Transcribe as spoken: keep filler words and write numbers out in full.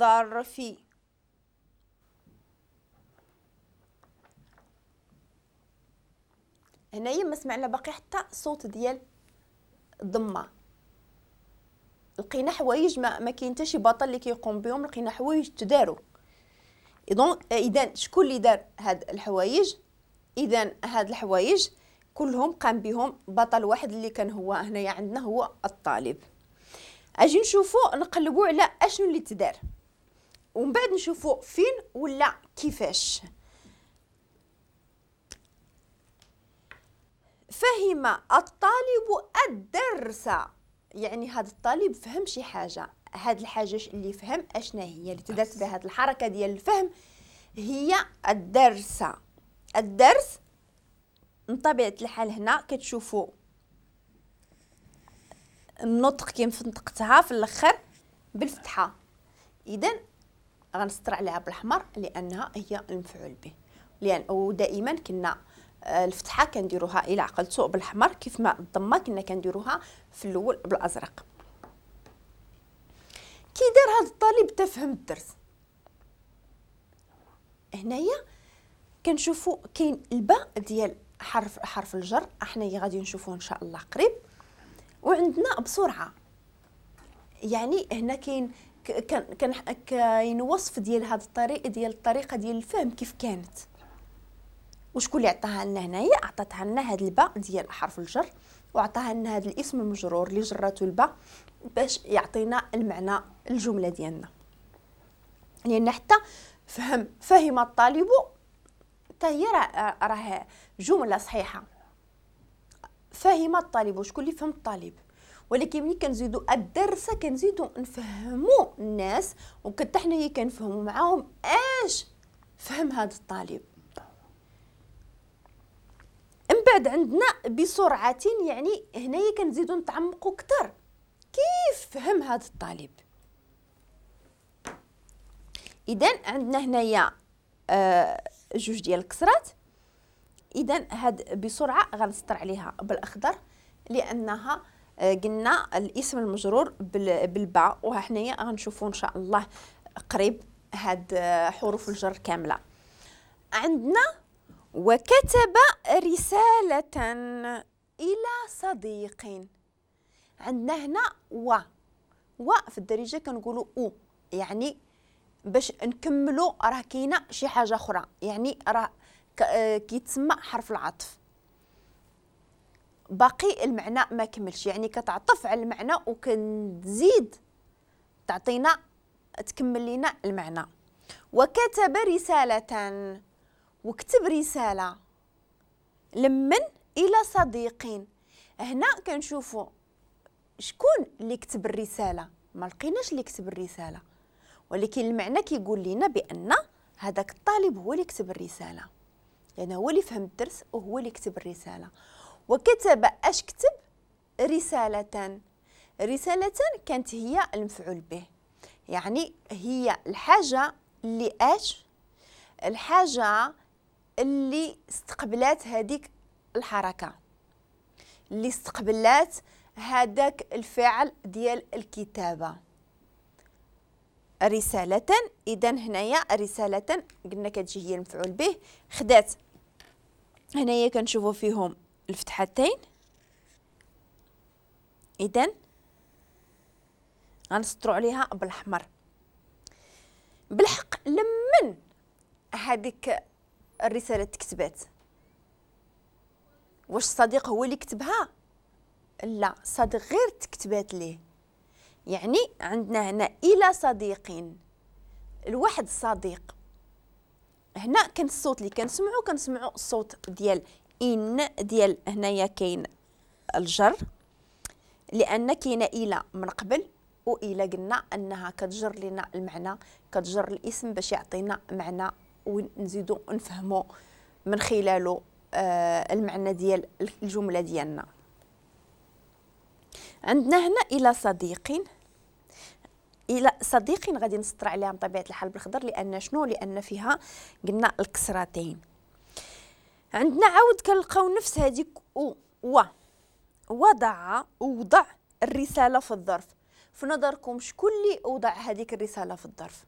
الظرف. هنايا ما سمعنا باقي حتى صوت ديال الضمة، لقينا حوايج ما, ما كاين حتى شي بطل اللي كيقوم بهم، لقينا حوايج تداروا. اذا شكون اللي دار هاد الحوايج؟ اذا هاد الحوايج كلهم قام بهم بطل واحد اللي كان هو هنايا عندنا هو الطالب. اجي نشوفوا نقلبوا على اشنو اللي تدار ومن بعد نشوفوا فين ولا كيفاش. فهم الطالب الدرس، يعني هذا الطالب فهم شي حاجة، هاد الحاجة اللي فهم اشنا هي اللي تدارت بهاد الحركة ديال الفهم؟ هي الدرس. الدرس من طبيعة الحال هنا كتشوفوا النطق كيف نطقتها في الاخر بالفتحة، اذا غنسطر عليها بالاحمر لانها هي المفعول به، لان ودائما كنا الفتحة كنديروها الى عقلتو بالاحمر كيف ما الضمة كنا كنديروها في الاول بالازرق. كي دار هذا الطالب تفهم الدرس؟ هنايا كنشوفوا كاين الباء ديال حرف حرف الجر، حنايا غادي نشوفوه ان شاء الله قريب، وعندنا بسرعة، يعني هنا كاين كان كاين وصف ديال هذا الطريق ديال الطريقة ديال الفهم كيف كانت، وشكون اللي عطاها لنا هنايا؟ عطاتها لنا هاد الباء ديال حرف الجر، وعطاها لنا هاد الاسم المجرور اللي جراتو الباء باش يعطينا المعنى الجملة ديالنا. لان حتى فهم فهم الطالب حتى هي راه جملة صحيحه، فهم الطالب شكون اللي فهم الطالب، ولكن ملي كنزيدو الدرس كنزيدو نفهمو الناس وكتا حنايا كنفهمو معاهم اش فهم هذا الطالب. من بعد عندنا بسرعة، يعني هنايا كنزيدو نتعمقو اكثر كيف فهم هذا الطالب. اذا عندنا هنايا آه جوج ديال الكسرات، اذا هاد بسرعة غنسطر عليها بالاخضر لانها آه قلنا الاسم المجرور بالباء، وها حنايا غنشوفو ان شاء الله قريب هاد حروف الجر كاملة. عندنا وكتب رسالة إلى صديق، عندنا هنا و و في الدارجة كنقولوا او، يعني باش نكملوا راه كاينه شي حاجة اخرى، يعني راه كيتسمى حرف العطف، باقي المعنى ما كملش، يعني كتعطف على المعنى وكنزيد تعطينا تكمل لنا المعنى. وكتب رسالة، وكتب رسالة لمن؟ إلى صديق. هنا كنشوفوا شكون اللي كتب الرسالة، ما لقيناش اللي كتب الرسالة، ولكن المعنى كيقول لنا بأن هذاك الطالب هو اللي كتب الرسالة، لأنه هو اللي فهم الدرس وهو اللي كتب الرسالة. وكتب اش كتب؟ رسالة. رسالة كانت هي المفعول به، يعني هي الحاجة اللي اش الحاجة اللي استقبلات هذيك الحركة، اللي استقبلات هذاك الفعل ديال الكتابة. رسالة، إذا هنايا رسالة قلنا كتجي هي المفعول به، خدات هنايا كنشوفوا فيهم الفتحتين، إذا غنسطروا عليها بالأحمر. بالحق لمن هذيك الرسالة تكتبات؟ واش الصديق هو اللي كتبها؟ لا، الصديق غير تكتبات ليه. يعني عندنا هنا إلى صديق، الواحد الصديق. هنا كان الصوت اللي كنسمعو كنسمعو الصوت ديال إن، ديال هنايا كاين الجر، لأن كاينة إلى من قبل، وإلى قلنا أنها كتجر لنا المعنى، كتجر الاسم باش يعطينا معنى ونزيدو نفهمو من خلاله آه المعنى ديال الجملة ديالنا. عندنا هنا إلى صديق، إلى صديق غادي نسطر عليها بطبيعة الحال بالخضر، لأن شنو؟ لأن فيها قلنا الكسرتين. عندنا عاود كنلقاو نفس هذيك و و وضع وضع الرسالة في الظرف. في نظركم شكون اللي وضع هذيك الرسالة في الظرف؟